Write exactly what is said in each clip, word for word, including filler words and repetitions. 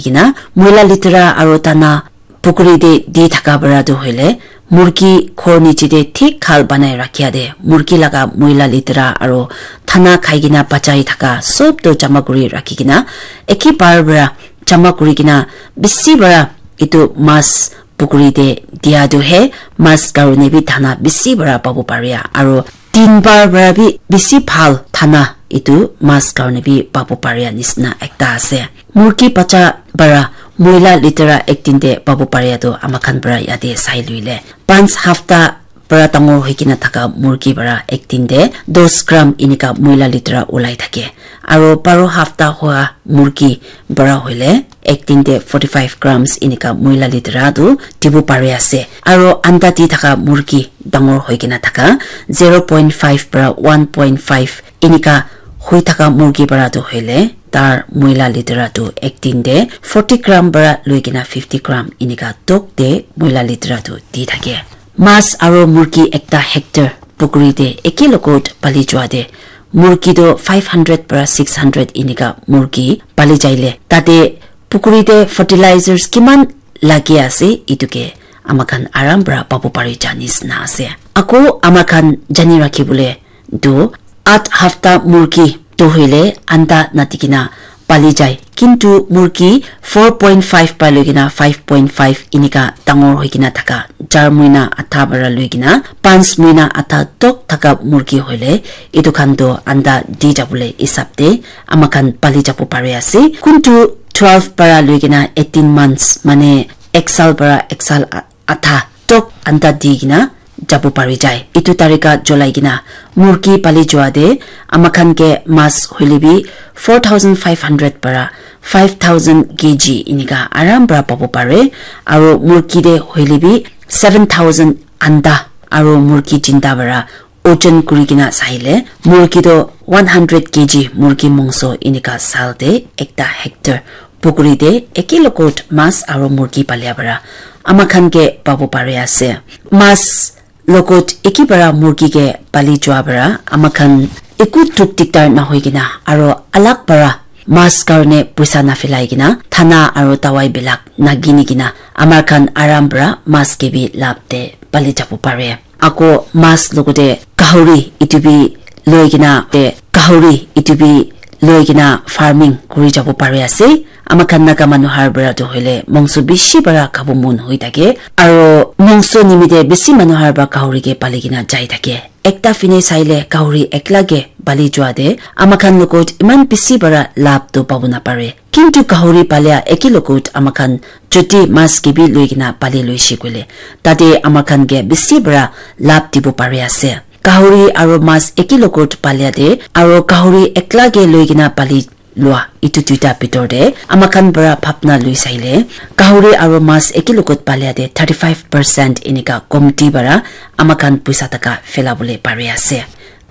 kina, moila litera aro dana pukuri te di thaka para tu hoile, murgi ghor niche te thik ghal banai rakhia te, murgi laga moila litera aro dana khai kina bachai thaka sob tu jama kuri rakhi kina, eki bar para jama kuri kina, bisi para etu mas pukuri te dia tu he mas karone bi dana bisi para pabo paria, aro tin bar para bi bisi bhal dana etu mas karone bi pabo paria nisna ekta ase. Murgi bacha para moila litera ek din te pabo paria tu ama khan para yate sai luile, panch hafta para dangor hoi kina thaka murgi para ek din te dos gram enika moila litera ulai thake. Aro baro hafta hoa murgi para hoile ek din te forty five grams enika moila litera tu dibo pari ase. Aro anda di thaka murgi dangor hoi kina thaka zero point five para one point five enika hoi thaka murgi para tu hoile tar moila litera tu ek din te forty gram para loi kina fifty gram enika tok te moila litera tu di thake. Mas aro murgi ekta hectare pukuri te eki logot pali jua te murgi to five hundred para six hundred enika murgi pali jaile tate pukuri te fertilizers kiman lagi ase etu ke ama khan aram para pabu pari janis na ase. Ako ama khan jani rakhi bole tu at hafta murgi tu hoile anda nati kina pali jai. Kintu murgi four point five para loi kina five point five enika dangor hoi kina thaka, char muina atha para loi kina panch muina atha tok thaka murgi hoile etu khan to anda di jabole hisab te ama khan pali jabo pari ase. Kuntu twelve para loi kina eighteen months mane ek sal para ek sal a- atha tok anda di kina jabo pari jai. Etu tarika cholai kina murgi pali jua te ama khan ke mas hoile bi four thousand five hundred para five thousand K G enika aram para pabo pare. Aro murgi te hoile bi seven thousand anda aro murgi jinda para ojon kuri kina saile murgi to one hundred K G murgi mongso enika sal te ekta hectare pukuri te eki logot mas aro murgi palia para ama khan ke pabo pari ase. Mas logot eki para murgi ke pali jua para ama khan eku duk dikdar na hoi kina aro alag para mas karone puisa na filai kina thana aro dawai bilak na gini kina ama khan aram para mas ke bi lab te pali jabo pare. Ako mas logote gahori etu bi loi kina te gahori etu bi loi kina farming kuri jabo pari ase. Ama khan Naga manu har para tu hoile mongso bishi para khabo mon hoi thake. Aro mongso nimite bishi manu har para gahori ke pali kina jai thake. Ekta fine saile gahori ekla ke pali jua te ama khan logot iman bishi para lab tu pabo na pare. Kintu gahori palia eki logot ama khan jodi mas ke bi loi kina pali loi shi koile tate ama khan ke bishi para lab dibo pari ase. Gahori aro mas eki logot palia te aro gahori ekla ke loi kina pali lua etu duita bitor te ama khan para bhabna lui saile gahori aro mas eki logot palia te thirty five percent enika komti para ama khan puisa taka phela bole pari ase.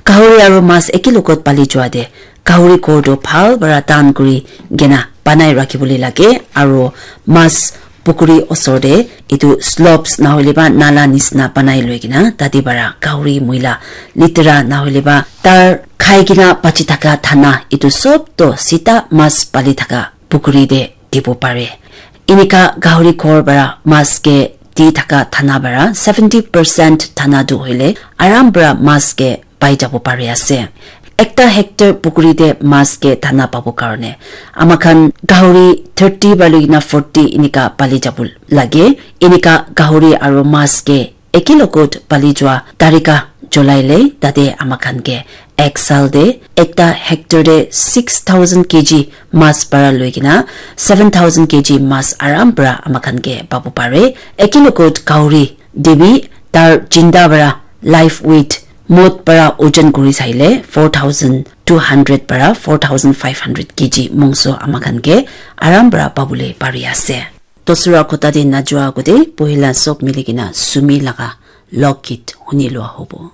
Gahori aro mas eki logot pali jua te gahori ghor to bhal para tan kuri kena banai rakhi bole lage aro mas pukuri osor te etu slopes na hoile ba nala nisna banai loi kena tate para gahori muila litera na hoile ba tar khai kena bachi thaka thana etu sob to sita mas pali thaka pukuri te dibo pare. Enika gahori ghor para mas ke di thaka thana para seventy percent thana tu hoile aram para mas ke pai jabo pari ase. Ekta hectare pukuri te mas ke thana pabo karone ama khan gahori thirty para loi kena forty enika pali jabo lage. Enika gahori aro mas ke eki logot pali jua tarika cholai le tate ama khan ke ek sal te ekta hectare te six thousand K G mas para loi kena seven thousand K G mas aram para ama khan ke pabo pare. Eki logot gahori te bi tar jinda para live weight mot para ojon kuri saile four thousand two hundred para four thousand five hundred K G mongso ama khan ke aram para pabole pari ase. Dosra kota te najua agute pohila sob mili kena sumi laga lokgit huni lua hobo.